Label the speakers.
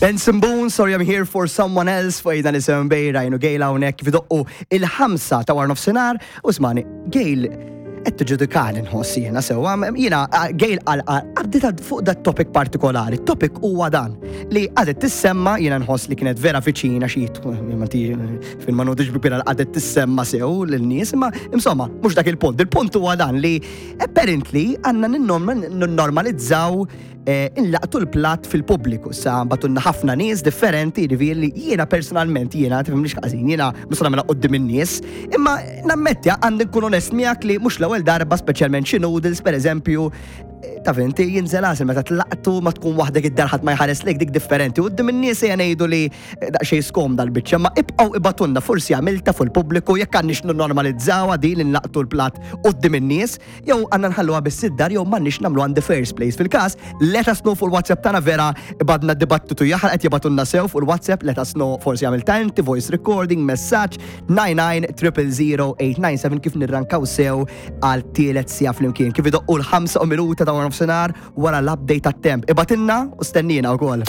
Speaker 1: Benson Boone, sorry I'm here for someone else, fuq dan isem bej Ryan u Gail hawnhekk kif idoqqu il-ħamsa ta' wara nofsinhar u smani Gail qed tiġġudikani nħoss jiena sewwa, jiena Gail qal għaddita fuq dat topic partikolari. Topic huwa dan li għadet tissemma jiena nħoss li kienet vera viċina xi fil ma nodix bikbira għadet tissemma sew lin-nies, imma insomma mhux dak il-punt. Il-punt huwa dan li apparently għandna ninnormalizzaw Eh, inlaqtu l-platt fil-pubbliku. Sa batunna ħafna nies differenti, jiġifieri li jiena personalment jiena tifhimniex ħażin, jiena mhux nagħmilha quddiem in-nies, imma nammetti għandi nkun onest miegħek li mhux l-ewwel darba speċjalment xi noodles pereżempju eh, taf inti jinżel għasel meta tlaqtu ma tkun waħdek id-dar ħadd ma jħares lejk dik differenti. U qudiem in-nies ejja ngħidu li eh, daqsxejn skomda l-biċċa, ma ibqgħu ibatunna forsi għamilta fuq il-pubbliku jekk għandniex normalizzawha din li nlaqtu l-platt quddiem in-nies. Jew għandna nħalluha biss id-dar jew m'għandniex nagħmluha in the first place. Fil-każ, let us know fuq il-WhatsApp tagħna vera badna dibattitu jaħraq qed jibgħatulna sew fuq il-WhatsApp, let us know forsi għamilta inti voice recording, messaġġ 99 kif nirrankaw sew għal tielet sija flimkien. Kif idoqqu l-5 minuta ta' nofsinhar wara l-update tat-temp. Ibatilna u stennina wkoll.